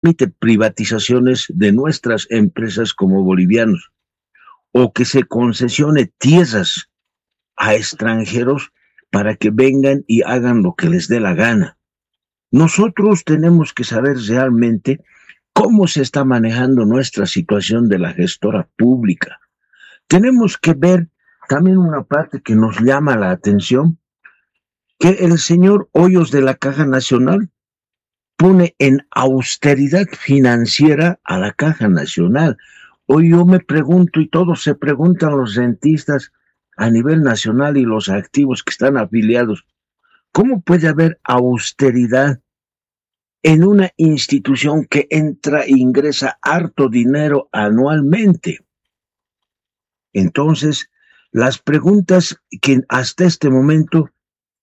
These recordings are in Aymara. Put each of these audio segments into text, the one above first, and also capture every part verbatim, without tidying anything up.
permite privatizaciones de nuestras empresas como bolivianos, o que se concesione tierras a extranjeros para que vengan y hagan lo que les dé la gana. Nosotros tenemos que saber realmente cómo se está manejando nuestra situación de la gestora pública. Tenemos que ver también una parte que nos llama la atención, que el señor Hoyos de la Caja Nacional pone en austeridad financiera a la Caja Nacional. Hoy yo me pregunto, y todos se preguntan los rentistas a nivel nacional y los activos que están afiliados, ¿cómo puede haber austeridad en una institución que entra e ingresa harto dinero anualmente? Entonces, las preguntas que hasta este momento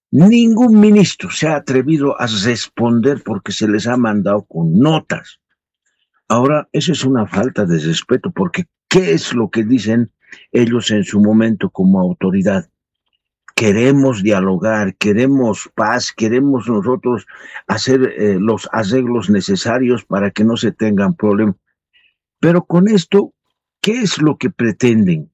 ningún ministro se ha atrevido a responder porque se les ha mandado con notas. Ahora, eso es una falta de respeto, porque ¿qué es lo que dicen ellos en su momento como autoridad? Queremos dialogar, queremos paz, queremos nosotros hacer eh, los arreglos necesarios para que no se tengan problemas. Pero con esto, ¿qué es lo que pretenden?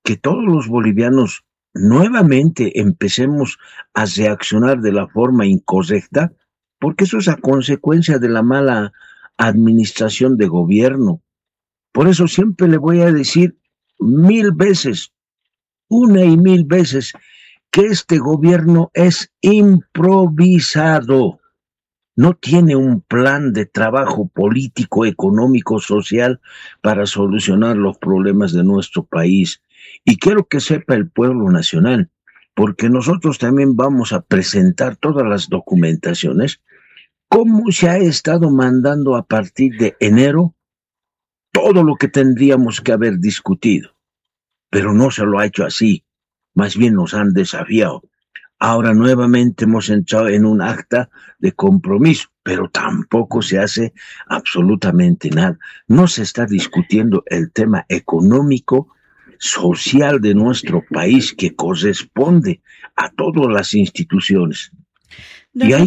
Que todos los bolivianos nuevamente empecemos a reaccionar de la forma incorrecta, porque eso es a consecuencia de la mala administración de gobierno. Por eso siempre le voy a decir mil veces, una y mil veces, que este gobierno es improvisado, no tiene un plan de trabajo político, económico, social para solucionar los problemas de nuestro país. Y quiero que sepa el pueblo nacional, porque nosotros también vamos a presentar todas las documentaciones, cómo se ha estado mandando a partir de enero todo lo que tendríamos que haber discutido, pero no se lo ha hecho así, más bien nos han desafiado. Ahora nuevamente hemos entrado en un acta de compromiso, pero tampoco se hace absolutamente nada. No se está discutiendo el tema económico, social de nuestro país que corresponde a todas las instituciones. Y hay...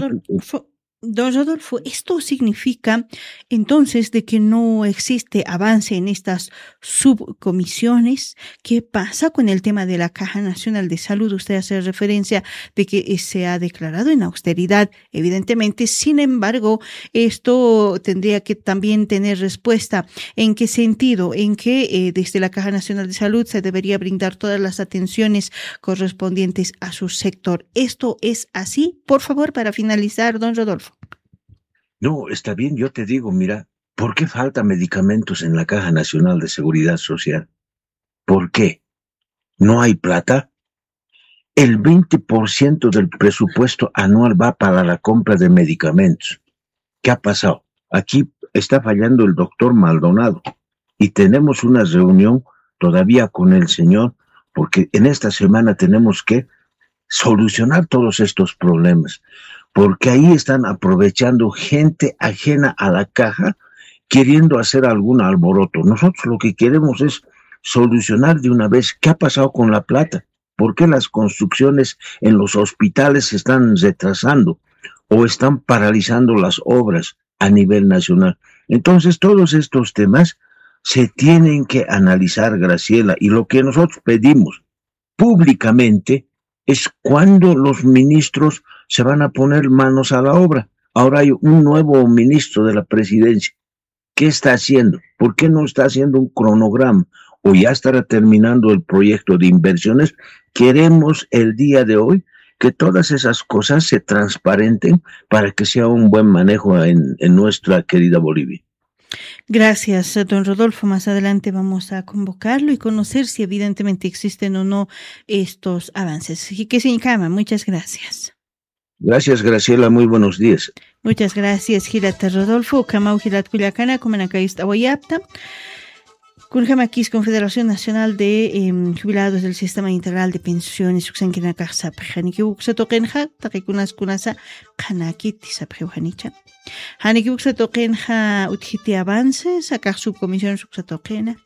Don Rodolfo, esto significa entonces de que no existe avance en estas subcomisiones. ¿Qué pasa con el tema de la Caja Nacional de Salud? Usted hace referencia de que eh, se ha declarado en austeridad, evidentemente. Sin embargo, esto tendría que también tener respuesta. ¿En qué sentido? En que eh, desde la Caja Nacional de Salud se debería brindar todas las atenciones correspondientes a su sector. ¿Esto es así? Por favor, para finalizar, don Rodolfo. No, está bien, yo te digo, mira, ¿por qué falta medicamentos en la Caja Nacional de Seguridad Social? ¿Por qué? ¿No hay plata? El veinte por ciento del presupuesto anual va para la compra de medicamentos. ¿Qué ha pasado? Aquí está fallando el doctor Maldonado y tenemos una reunión todavía con el señor, porque en esta semana tenemos que solucionar todos estos problemas, porque ahí están aprovechando gente ajena a la caja queriendo hacer algún alboroto. Nosotros lo que queremos es solucionar de una vez qué ha pasado con la plata, por qué las construcciones en los hospitales se están retrasando o están paralizando las obras a nivel nacional. Entonces, todos estos temas se tienen que analizar, Graciela, y lo que nosotros pedimos públicamente es cuándo los ministros se van a poner manos a la obra. Ahora hay un nuevo ministro de la presidencia. ¿Qué está haciendo? ¿Por qué no está haciendo un cronograma? ¿O ya estará terminando el proyecto de inversiones? Queremos el día de hoy que todas esas cosas se transparenten para que sea un buen manejo en, en nuestra querida Bolivia. Gracias, don Rodolfo. Más adelante vamos a convocarlo y conocer si evidentemente existen o no estos avances. Así que, señor Cama, muchas gracias. Gracias, Graciela. Muy buenos días. Muchas gracias, Gilata Rodolfo. Kamau Gilat Kullakana, Kumanakayust Awayapta. Kunjamakis Confederación Nacional de eh, Jubilados del Sistema Integral de Pensiones, uksankinakax sapxi. Janiki uksa tuqinxa, taqikunas kunasa, qhanakiti sapxiw janicha. Janiki uksa tuqinxa, utjiti avances, akax subcomisiones uksa tuqina.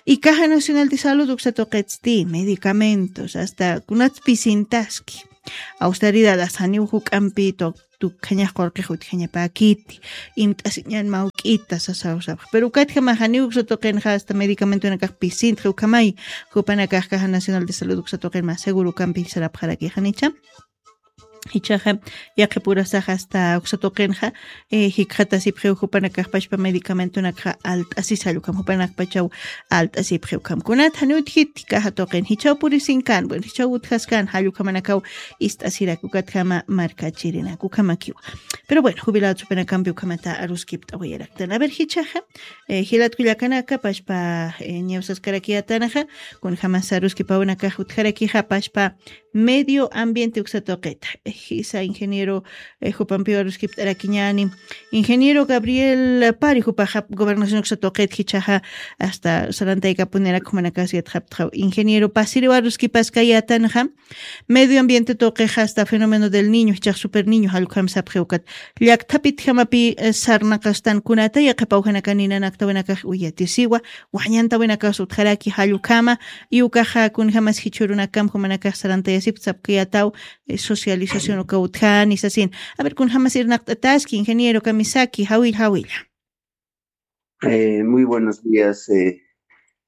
Y Caja Nacional de Salud uksa tuqitsti, medicamentos, hasta kunatspisintaski. Austeridad, hasta janiw juk'ampi tukjañax qurqix utjañapäkiti, imt'asiñan mawk'ita sasaw sapx. Pero ukatjamaxa niw uksa tuqinxa hasta medicamentonakax pisintxi ukhamay, jupanakax Caja Nacional de Salud uksa tuqin mä seguro ukampi sarapxarakixa nicha. Ichaxa yaqhipurasax hasta uksa tuqinxa, eh, jikxatasipxiw jupanakax pachpa medicamentonakxa alt'asisa jallukam jupanakpachaw alt'asipxiw kam. Kunat janiw utjiti caja tuqin, jichaw purisinkan, bueno, jichaw utjaskan, jallukhamanakaw ist'asirak ukatjama markachirinak ukhamakiwa. Pero bueno, jubilado supinakampi ukhamata aruskipt'awayaraktan. A ver, jichaxa, eh, jilat kullakanaka pachpa, eh, ñawsaskarakiyatanaxa, kunjamasa aruskipawanakax utjarakixa pachpa medio ambiente uksa tuqita. Eh, jisa ingeniero, eh, jupampiw aruskipt'arakiñani. Ingeniero Gabriel Pari, jupaxa gobernación uksa tuqit jichaxa hasta sarantaykapunirakixa jumanakax yatxaptxaw. Ingeniero, pasiriw aruskipaskayatanaxa, medio ambiente tuqixa hasta fenómeno del niño, jichax super niño jallukam sapxiw ukat. Llakthapitjamapi, eh, sarnaqastan kunata yaqhipaw janakan ninanaktawinakax uyatisiwa, wañantawinakax utjaraki jallukama, y ukaxa kunjamas jichhürunakam jumanakax sarantayasipta sapkayataw, eh, socialización uka utjani sasin. A ver, kunjamas irnaqt'ataski, ingeniero kamisaki, jawilla, jawilla. Eh, muy buenos días, eh,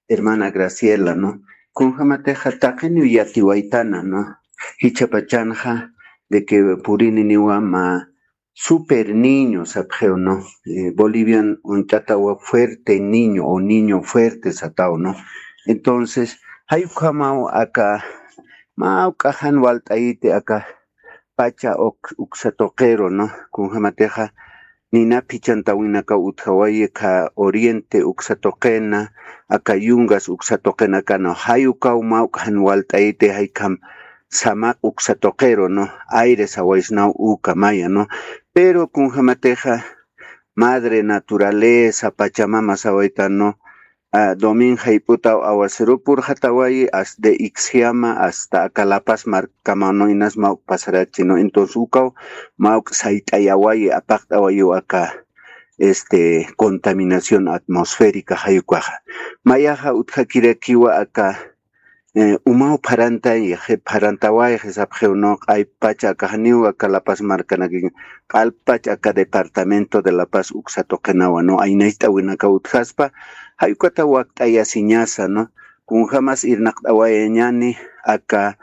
hermana Graciela, ¿no? Kunjamatixa taqiniw yatiwaytana, ¿no? Jichhapachanxa de que purininiwa mä super niño sapxiw, ¿no? Eh, Bolivian uñt'atawa fuerte niño o niño fuerte sataw, ¿no? Entonces, jayukhamaw aka mä uk'axan walt'ayiti aka pacha uk-, uksa tuqiru, ¿no? Kunjamatixa nina phichantawinakaw utjawayi kha oriente uksa tuqina, aka yungas uksa tuqinakana, jayukaw mä uk'axan walt'ayiti jaykham samaq uksa tuqiru, ¿no? Aire sawaysnaw uka maya, ¿no? Pero kunjamatixa madre naturaleza, pachamama sawaytan, ¿no? Ah, domin jayp'utaw aguacero purxatawayi, as de Ixiama hasta aka La Paz markama, ¿no? Inas mawk pasarachi, ¿no? Entonces ukaw mawk sayt'ayawayi, apaqt'awayiw aka, este, contaminación atmosférica jayukaxa. Mayaxa utjakirakiwa aka, eh, umaw pharantay, pharantawayxi sapxiw, ¿no? Q'aypacha aka janiw aka La Paz markanakiñ, q'alpach aka departamento de La Paz uksa tuqinawa, ¿no? Aynacht'awinakaw utjaspa, jayukata wakt'ayasiñasa, ¿no? Kunjamas irnaqt'awayañani aka,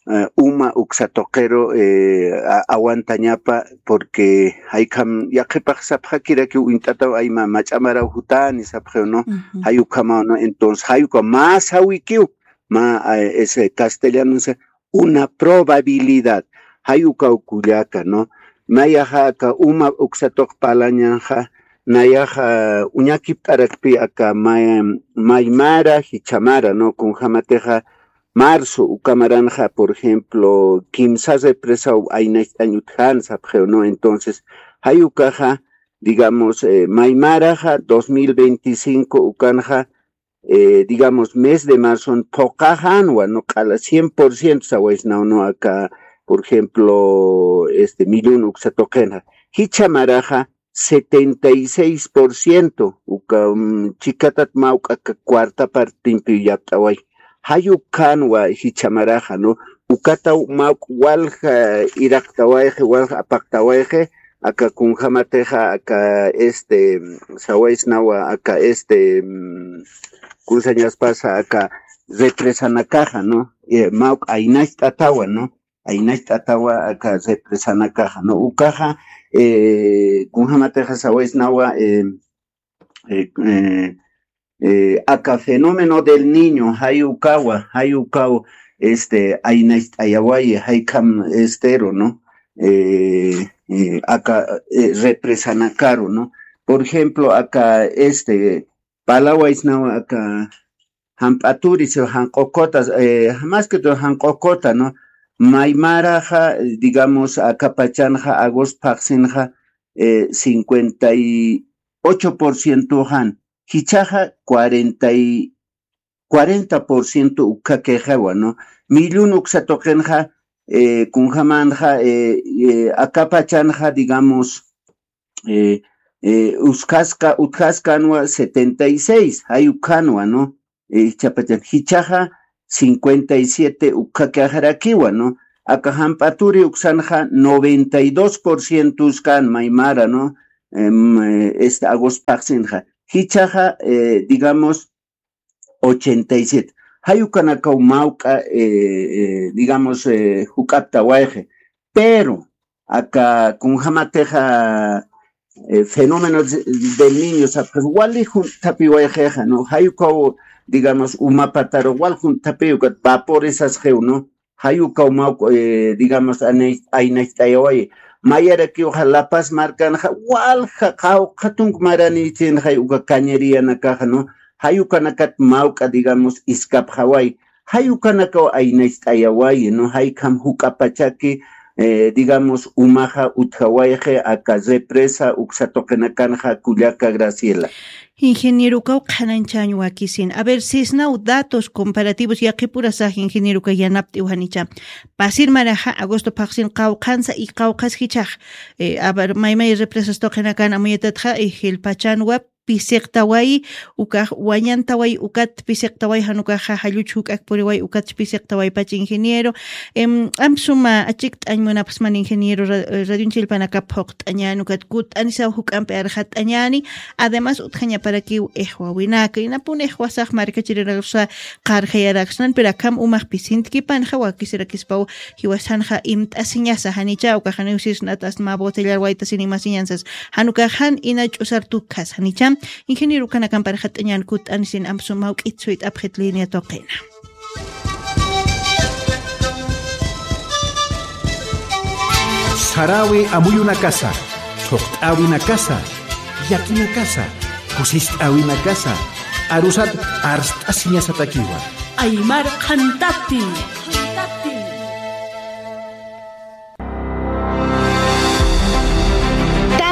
eh, uma uksa tuqiru, eh, a-, aguantañapa, porque jaykham yaqhipax sapxakirakiw uñt'ataw ayma mach'a maraw jutani sapxiw, ¿no? Jayukhamaw, ¿no? Entonces jayuka mä sawikiw, mä, eh, es, eh, castellano dice, una probabilidad. Jayukaw kullaka, ¿no? Mayaxa aka uma uksa tuq parlañanxa, nayaxa uñakipt'arakpi aka may-, maymara, jichamara, ¿no? Kunjamatixa marzo ukamaranxa, por ejemplo, kimsa represaw aynacht'añ utjan sapxiw, ¿no? Entonces, jayukaxa, digamos, eh, maymaraxa dos mil veinticinco ukanxa, eh, digamos, mes de marzon phuqaxanwa, ¿no? Q'ala cien por ciento sawaysnaw, ¿no? Aka, por ejemplo, este, millón uksa tuqinxa. Jichamaraxa setenta y seis por ciento, uka, mm, chikatat mawk aka cuarta partimpi yapt'away. Jayukanwa jichamaraxa, ¿no? Ukataw mawk walja iraqtawayxi, walja apaqtawayxi, aka kunjamatixa, aka, este, sawaysnawa, aka, este, mm, kunsañaspasa, aka represanakaxa, ¿no? Eh, mawk aynacht'atawa, ¿no? Aynacht'atawa, aka represanakaxa, ¿no? Ukaxa, eh, kunjamatixa sawaysnawa, eh, eh, eh, eh, aka fenómeno del niño, jayukawa, jayukaw, este, aynacht'ayawayi, jaykham, estero, ¿no? Eh, eh, aka, eh, represanakaru, ¿no? Por ejemplo, aka, este, palawaysnawa, aka, jamp'aturi, si janq'ukota, eh, más que todo janq'ukota, ¿no? Maymaraxa, digamos, aka pachanxa agosto phaxsinxa, eh, cincuenta y ocho por ciento jan, jichhaxa cuarenta y, cuarenta por ciento ukhakixiwa, ¿no? Millón uksa tuqinxa, eh, kunjamanxa, eh, eh, aka pachanxa, digamos, eh, eh, uskhaska, utjaskanwa setenta y seis, jay ukhanwa, ¿no? Eh, jichha pachan, jichhaxa cincuenta y siete ukhakiaxarakiwa, ¿no? Aka jamp'aturi uksanxa noventa y dos por ciento uskan maymara, ¿no? Em, eh, este agosto phaxsinxa. Jichhaxa, eh, digamos, ochenta y siete. Jay ukanakaw mawk'a, eh, eh, digamos, eh, juk'aptawayxi. Pero, aka kunjamatixa, eh, fenómeno de, del Niño sapxi, wali junt'thapiwayxixa, ¿no? Jay ukaw, digamos, uma pataru wal junt'thapiw, ukat vaporizasxiw, ¿no? Jay ukaw mawk'a, eh, digamos, anay-, aynacht'ayawayi. Mayarakiwxa La Paz markanxa, walja qawqha tunk maranïchinxay uka cañeríanakaxa, ¿no? Jay ukanakat mawk'a, digamos, iskapxaway. Jay ukanakaw aynacht'ayawayi, ¿no? Jaykham juk'apachaki, eh, digamos, umaxa utjawayxi aka represa uksa tuqinakanxa, kullaka Graciela. Ingeniero, ukaw qhanañchañ wakisin. A ver, sisnaw datos comparativos, yaqhipurasax ingeniero, uka yanapt'iw janicha. Pasir maraxa agosto phaxsin qawqhansa y qawqhas jichhax. Eh, a ver, maymay represas tuqinakan amuyatatxa, eh, jilpachanwa pisiqtawayi, ukax wañantawayi, ukat pisiqtawayi, jan ukaxa jalluch juk'ak puriwayi, ukat pisiqtawaypach ingeniero. Em, amp suma achikt'añ munapxsman ingeniero, ra-, radioñ chillpanakap phuqt'añäni, ukat kut'anisaw juk'ampi arxat'añäni, además utjañaparakiw ixwawinaka, inapun ixwasax markachirinarusa qarxayaraksnan, pero akham umax pisintikipanxa wakisirakispaw jiwasanxa imt'asiñasa, janicha ukax janiw sisnat, asta mä botellar waytasin imasiñansas, jan ukax jan ina ch'usar tukkhas, janicha. Ingeniero, ukanakamp arxat'añäni, kut'anisin amp suma mawk'it suyt'apxit línea tuqina. Saräwi amuyunakasa, thuqt'äwinakasa, llakinakasa, kusist'äwinakasa, arusat arst'asiñasatakiwa. Aymar qhantati.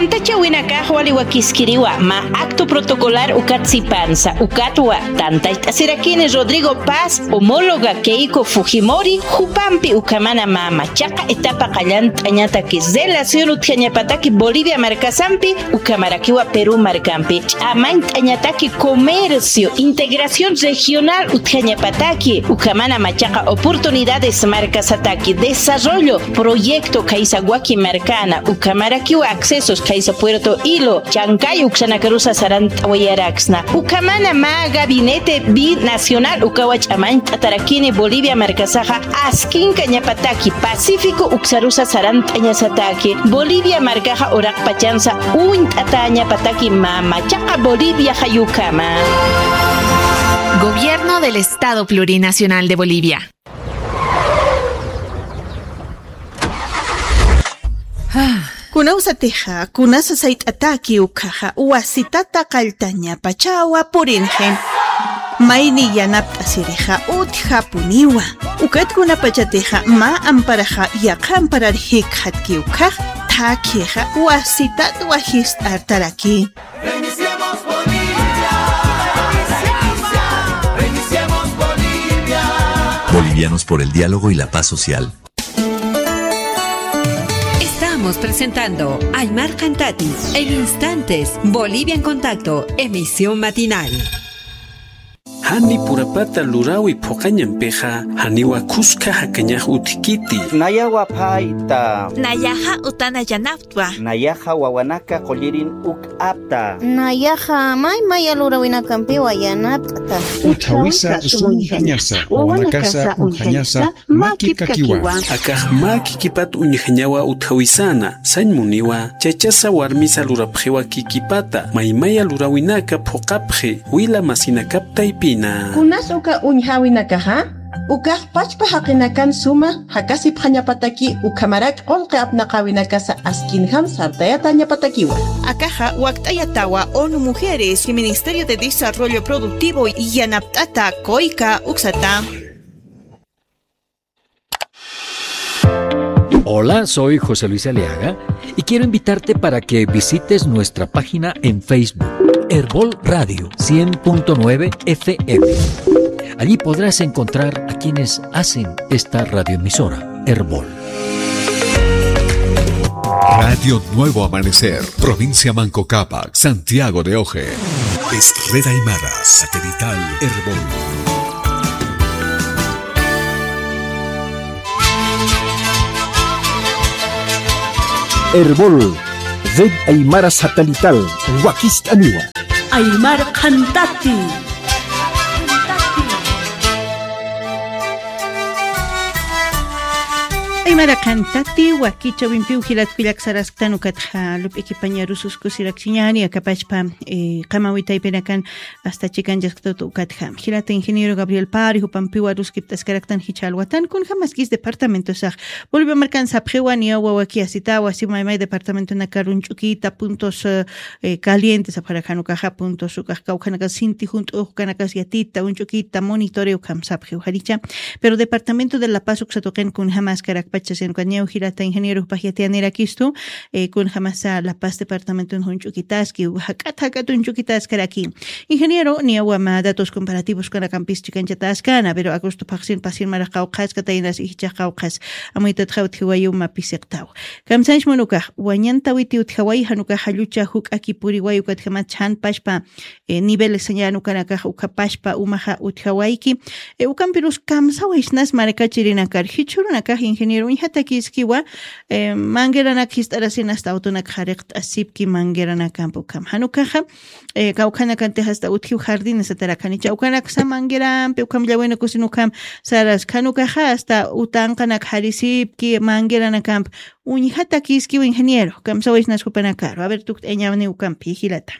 Tantachawinakax wali wakiskiriwa, mä acto protocolar ukat sipansa, ukatwa tantachasirakini Rodrigo Paz, homóloga Keiko Fujimori, jupampi ukhamana mä machaqa etapa qallant'añataki relación utjañapataki Bolivia markasampi, ukhamarakiwa Perú markampi ch'amañt'añataki comercio, integración regional utjañapataki, ukhamana machaqa oportunidades markasataki, desarrollo, proyecto khaysa waki markana, ukhamarakiwa accesos khaysa Puerto Hilo, Chancay uksanakarusa sarant'awayaraksna, ukhamana mä gabinete binacional ukawa ch'amañt'atarakini Bolivia markasaxa, askinkañapataki Pacífico uksarusa sarant'añasataki, Bolivia markaxa uraqpachansa uñt'atäñapataki mä machaqa Bolivia jayukama. Gobierno del Estado Plurinacional de Bolivia. Kunawsatixa, kunasa sayt'ataki ukhaxa, wasitata qalltañapachawa purinxi. Mayni yanapt'asirixa utjapuniwa. Ukat kunapachatixa mä amparaxa yaqha amparar jikxatki ukhax, thakhixa wasitatwa jist'artaraki. Reiniciemos Bolivia. Reiniciemos Bolivia. Bolivianos por el diálogo y la paz social. Estamos presentando Aymar Qhantati. En instantes, Bolivia en Contacto, emisión matinal. Jani purapata luräwi phuqañampixa, janiwa khuska jakañax utjkiti. Nayawa phayta. Nayaxa utana yanaptwa. Nayaxa wawanaka qullirin uk'apta. Nayaxa may maya luräwinakampiwa yanapt'ta. Utjawisa sum uñjañasa, wawanakasa uñjañasa, makipkakiwa. Akax mä kikipat uñjañawa utjawisana, sañ muniwa, chachasa warmisa lurapxiwa kikipata, maymaya luräwinaka phuqapxi, wila masinakap taypina. Kunas uka uñjäwinakaxa, ukax pachpa jaqinakan suma jakasipxañapataki ukhamarak qullqi apnaqäwinakasa askinjam sartayatäñapatakiwa. Akaxa wakt'ayatawa ONU Mujeres y Ministerio de Desarrollo Productivo yanapt'ata COICA uksata. Hola, soy José Luis Aliaga y quiero invitarte para que visites nuestra página en Facebook, Erbol Radio cien punto nueve F M. Allí podrás encontrar a quienes hacen esta radioemisora, Erbol. Radio Nuevo Amanecer, provincia Manco Cápac, Santiago de Oje. Es Red Aymara, satelital, Erbol. Erbol, Red Aymara Satelital, wakist'aniwa. Aymar Qhantati. Aymara Qhantati, wakichawimpiw jilatkullak sarasktan ukatxa, lup'ikipañarususkusirakchiñani, akapachpa, eh, qamawi taypinakan, hasta chikan chaskatut ukatxa. Jilata ingeniero Gabriel Pari, jupampiwa ruskipt'askaraktan jichha alwatan, kunjamaskis departamentosax. Bolivia markan sapxiwa, niyaw wawaki asitawa, si maymay departamentonakar uñch'ukita, puntos, eh, eh, calientes, sapxarak jan ukaxa, puntos ukax kawkhanakas sinti junt'ux, ukanakas yatita, uñch'ukita, monitoreo ukham sapxiw janicha. Pero departamento de La Paz uksa tuqin kunjamaskarakpacha, sino que niyaw jilata ingeniero jupax yatiyanirakistu, eh, kunjamasa La Paz departamenton uñch'ukitaski, jak'at jak'at uñch'ukitaskaraki. Ingeniero, niyawama datos comparativos kanakampis chikanchataskana, pero agosto phaxsin pasin marax qawqhaska, taynas ijichax qawqhas. Amuytatxa utjiwayu ma pisiqtaw. Kamsanch munukax, wañantawiti utjaway, jan ukax jallucha juk'aki puriway, ukatjamat chhan pachpa, eh, nivel sañan ukanakax ukapachpa umaxa utjawayki. Eh, ukampirus kamsawaysnas markachirinakar. Jichhürunakax ingeniero uñjatakiskiwa, eh, mangueranak jist'arasin hasta autonak jariqt'asipki mangueranakamp ukham. Jan ukaxa, eh, kawkhanakantix hasta utjiw jardines atarakanicha. Ukanaksa manguerampi ukham llawinakusin ukham saras. Jan ukaxa hasta utanqanak jarisipki mangueranakamp. Uñjatakiskiw ingeniero. Kamsawaysnas jupanakaru. A ver, tukt'añawni ukampi, jilata.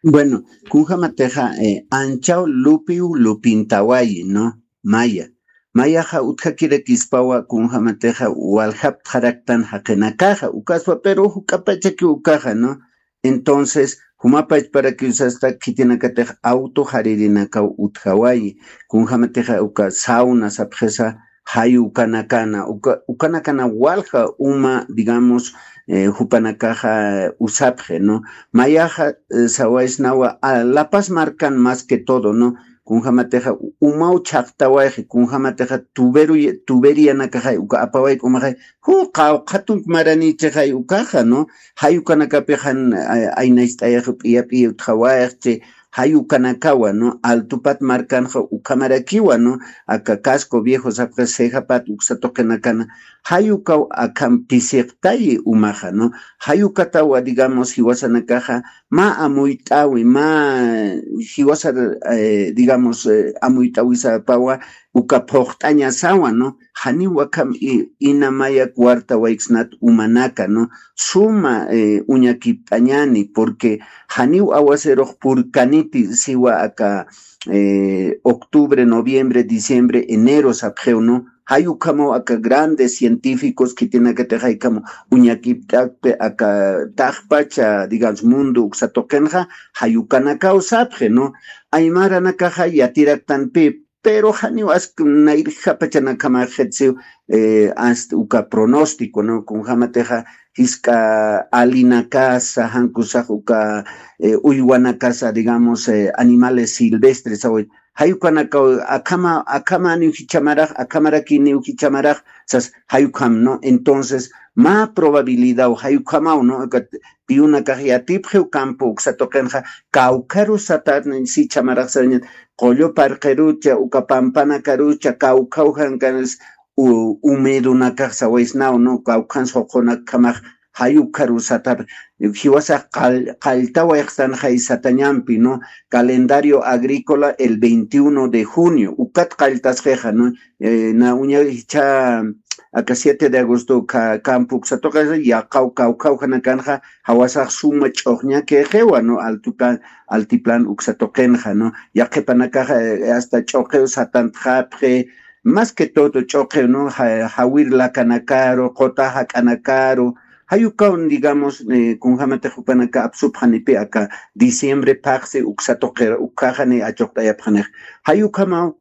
Bueno, kunjamatixa, eh, anchaw lupiw lupintawayi, ¿no? Maya. Mayaxa utjakirakispawa kunjamatixa waljaptxaraktan jaqinakaxa, ukaspa, pero juk'apachakiw ukaxa, ¿no? Entonces, jumapachparakiw sasta khitinakatix auto jaririnakaw utjawayi, kunjamatixa uka sauna sapxisa, jay ukanakana, uka, ukanakana walja uma, digamos, eh, jupanakaxa usapxi, ¿no? Mayaxa, eh, sawaysnawa, a, La Paz markan más que todo, ¿no? Kunjamatixa umaw chhaqtawayxi, kunjamatixa tuberu-, tuberianakaxay, uka apawayk umaxay, ju, qawqhatunk maranichixay ukaxa, ¿no? Jay ukanakapixan, a, aynacht'ayax p'iya p'iya utjawayxchi, jay ukanakawa, ¿no? Altupat markanxa ukhamarakiwa, ¿no? Aka casco viejo sapxi, Cejapat uksa tuqinakana, jay ukaw akham pisiqtayi umaxa, ¿no? Jay ukatawa, digamos, jiwasanakaxa, mä amuyt'awi, mä jiwasa, eh, digamos, eh, amuyt'awisapawa, uka phuqt'añasawa, ¿no? Janiw akham i-, ina maya cuarta wayksnat umanaka, ¿no? Suma, eh, uñakipt'añani, porque janiw awaserux purkaniti siwa aka, eh, octubre, noviembre, diciembre, enero sapxiw, ¿no? Jay ukhamaw aka grandes científicos khitinakatix jay ukhamaw uñakipt'akpi aka taqpacha, digamos, mundo uksa tuqinxa, jay ukanakaw sapxi, ¿no? Aymaranakaxa yatiraktanpï, pero janiw ask nayrjapachanakamax jitsiw, eh, hasta uka pronóstico, ¿no? Kunjamatixa jisk'a alinakasa, jankusax uka, eh, uywanakasa, digamos, eh, animales silvestres, awi, jay ukanakaw akhama, akhamaniw jichhamarax, akhamarakiniw jichhamarax, sas jay ukham, ¿no? Entonces, mä probabilidad, jay ukhamaw, ¿no? Ukat piyunakax yatipxiw campo uksa tuqinxa, kawkharu satarnin si chhamarax sañan, qullu parqirucha, uka pampanakarucha, kawkhaw jankanas, u-, humedonakax sawaysnaw, ¿no? Kawkhan suqunakamax, jay ukharu satar, jiwasax qall-, qalltawayxtan jay satañampi, ¿no? Calendario agrícola el veintiuno de junio, ukat qalltasqixa, ¿no? Eh, na uña jichha, aka siete de agosto ka-, campo uksa tuqinxa, yaqaw kawkhaw janakanxa, jawasax suma ch'uxñakixiwa, ¿no? Altuplan, altiplan uksa tuqinxa, ¿no? Yaqhipanakaxa, eh, hasta ch'uqiw satantxapxi, más que todo ch'uqiw, ¿no? Ja-, jawir lakanakaru, quta jak'anakaru, jay ukaw, digamos, eh, kunjamatix jupanaka apsupxanipi aka diciembre phaxsi uksa tuqi, ukhaxani achuqt'ayapxanix. Jay ukhamaw,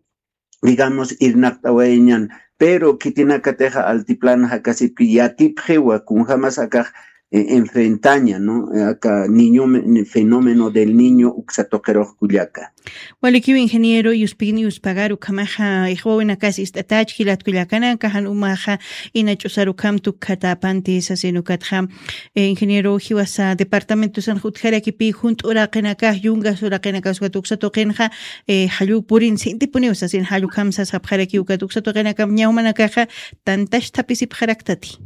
digamos, irnaqt'awayañan, pero khitinakatixa altiplano jakasipki yatipxiwa kunjamas akax, eh, enfrentaña, ¿no? Aka niño me-, fenómeno del niño uksa tuqirux kullaka. Walikiw ingeniero, yuspigni yuspagar ukhamaxa, ixwawinakas ist'atach jilat kullakanaka, jan umaxa ina ch'usar ukham tukkatapanti sasin ukatxa, eh, ingeniero, jiwasa departamentosan utjarakipï junt'uraqinakax, yungas uraqinakax ukat uksa tuqinxa, eh, jallu purin sintipuniw sasin, jallu ukham sasxapxarakiw ukat uksa tuqinakam ñawmanakaxa tantachthapisipxaraktati.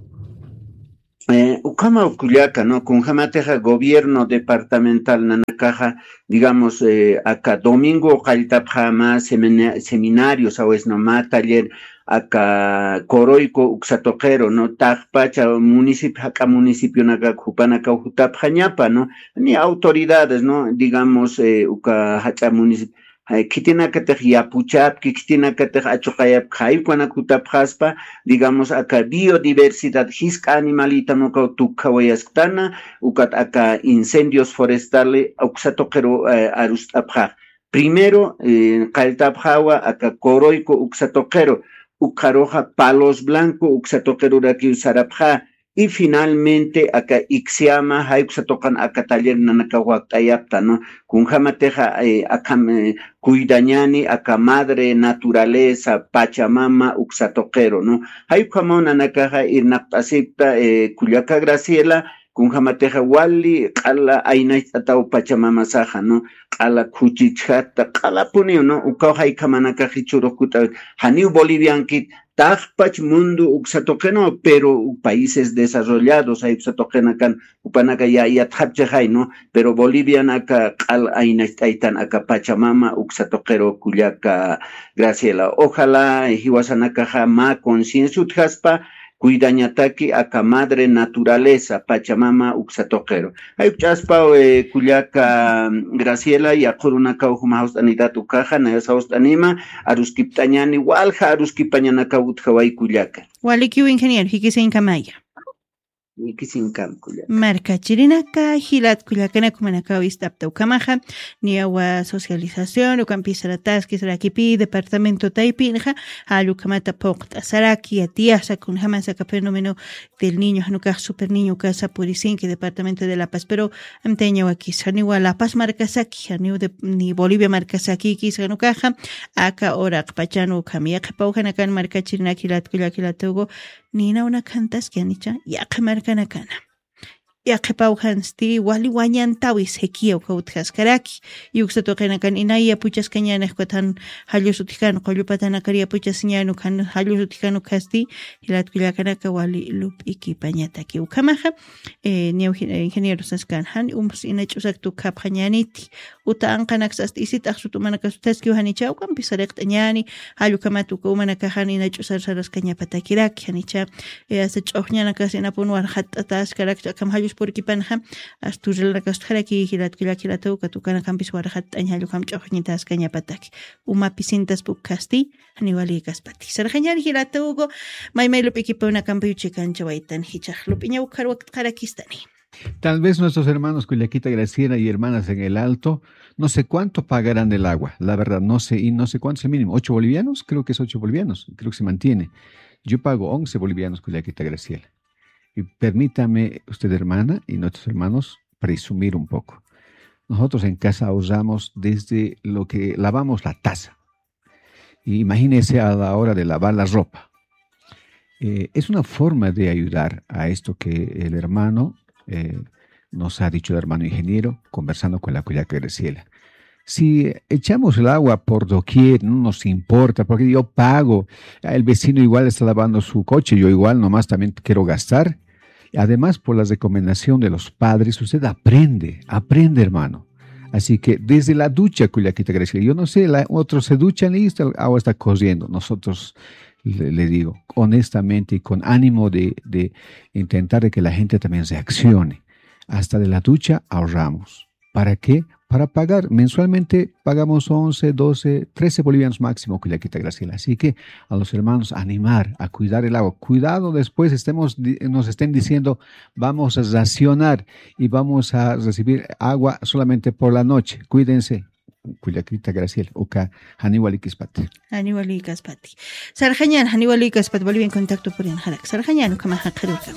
Eh, ukhama kullaka, ¿no? Kunjamatixa gobierno departamental nanakaxa, digamos, eh, aka domingo qalltapxama semina-, seminarios, a veces, ¿no? Ma taller, aka Coroico uksatoqero, ¿no? Taqpacha municipio, jaka municipio naka jupanaka jutapxañapa, ¿no? Ni autoridades, ¿no? Digamos, eh, uka jacha municipio, khitinakatix yapuchapki, khitinakatix achuqayapki, jaykunak jutapxaspa, digamos, aka biodiversidad, jisk'a animalitanukaw tukjawayasktana, ukat aka incendios forestales uksatoqiru, eh, arust'apxax. Primero, eh, qalltapxawa aka Coroico uksatoqiru, ukxaruxa Palos Blanco uksatoqirurakiw sarapxa, y finalmente aka Ixiama, jay uksatoqan aka taller nanakaw wakt'ayapta, ¿no? Kunjamatixa, eh, akham, eh, cuidañani aka madre naturaleza, Pachamama uksatoqiru, ¿no? Jay ukhamaw nanakaxa irnaqt'asipta, eh, kullaka Graciela, kunjamatixa wali q'ala aynacht'ataw Pachamamasaxa, ¿no? Q'ala khuchichjata, q'alapuniw, ¿no? Ukaw jaykamanakax jichhürux kut'awit, janiw Boliviankit, taqpach mundo uksatoqinwa, pero países desarrollados, jay uksatoqinakan, jupanaka ya, yatxapchixay, ¿no? Pero Bolivianaka q'al aynacht'aytan aka Pachamama uksatoqiru kullaka Graciela. Ojalá, eh, jiwasanakaxa mä conciencia utjaspa, cuidañataki aka madre naturaleza, Pachamama uksatoqiru. Jay ukch'aspaw, eh, kullaka Graciela, yaqhürunakaw juma jawst'anitat ukaxa, nayas jawst'anima, aruskipt'añani, walja aruskipañanakaw utjaway kullaka. Walikiw ingeniero, jikisiñkamaya. Jikisiñkam kullaka. Markachirinaka, jilat kullakanak jumanakaw ist'apta ukhamaxa, niyawa socialización, ukampis sarataski, sarakipï, departamento taypinxa, jall ukhamata phuqt'asaraki, yatiyasa, kunjamasa aka fenómeno del niño, janukax super niño ukasa purisinki departamento de La Paz, pero amtañawakis, janiwa La Paz markasaki, janiw de, ni Bolivia markasakikis, janukaxa, aka uraqpachan ukham, yaqhipaw janakan markachirinak jilat kullak jilatugu, nina unak jantaski, janicha, yaqha markanakana. Yaqhipaw jansti, wali wañantawi sequía uka utjaskaraki, y uksatuqinakan inay yapuchaskañäni, ukat jan jallus utjkän, qullu patanakar yapuchasiñäni, ukan jallus utjkän ukasti, jilat kullakanaka wali lup'ikipañataki. Ukhamaxa, eh, niyaw, eh, ingeniero saskan, jan umas ina ch'usak tukjapxañäniti, uta anqanaks ast isit axsut umanakasut utjaskiw janicha, ukampis sariqt'añäni, jall ukhamat uka umanakax jan ina ch'usar saraskañapatakiraki, janicha, eh, hasta ch'uxñanakas inapun warxatt'ataskarakcha, akham jallus purikipanxa, hasta urrilanakas utjaraki, jilat kullak jilatuw, ukat ukanakampis warxatt'añ jall ukham ch'uxñitaskañapataki. Uma pisintaspa ukasti, janiw walïkaspati. Sarxañäni jilatuw, may may lup'ikipunakampiw chikanchawaytan, jichhax lup'iñaw ukhar wakt'xarakistani. Tal vez nuestros hermanos Cuyaquita Graciela y hermanas en el Alto, no sé cuánto pagarán el agua, la verdad, no sé, y no sé cuánto es el mínimo, ocho bolivianos, creo que es ocho bolivianos, creo que se mantiene. Yo pago once bolivianos, Cuyaquita Graciela. Y permítame usted, hermana, y nuestros hermanos, presumir un poco. Nosotros en casa usamos desde lo que lavamos la taza. Y imagínese a la hora de lavar la ropa. Eh, es una forma de ayudar a esto que el hermano, eh, nos ha dicho, el hermano ingeniero, conversando con la Cuyaca Graciela. Si echamos el agua por doquier, no nos importa, porque yo pago, el vecino igual está lavando su coche, yo igual nomás también quiero gastar. Además, por la recomendación de los padres, usted aprende, aprende, hermano. Así que desde la ducha, Cuyaquita Graciela, yo no sé, la, otros se duchan y está, el agua está corriendo. Nosotros, le, le digo, honestamente y con ánimo de, de intentar de que la gente también reaccione, hasta de la ducha ahorramos. ¿Para qué? Para pagar. Mensualmente pagamos once, doce, trece bolivianos máximo, Cuyaquita Graciela. Así que a los hermanos animar a cuidar el agua. Cuidado, después estemos, di- nos estén diciendo, vamos a racionar y vamos a recibir agua solamente por la noche. Cuídense. Cuyaquita Graciela, uka janiw walïkaspati. Janiw walïkaspati. Sarxañäni, janiw walïkaspati, Bolivia en Contacto puriñjarak. Sarxañäni, ukhamaxa qhirurkama.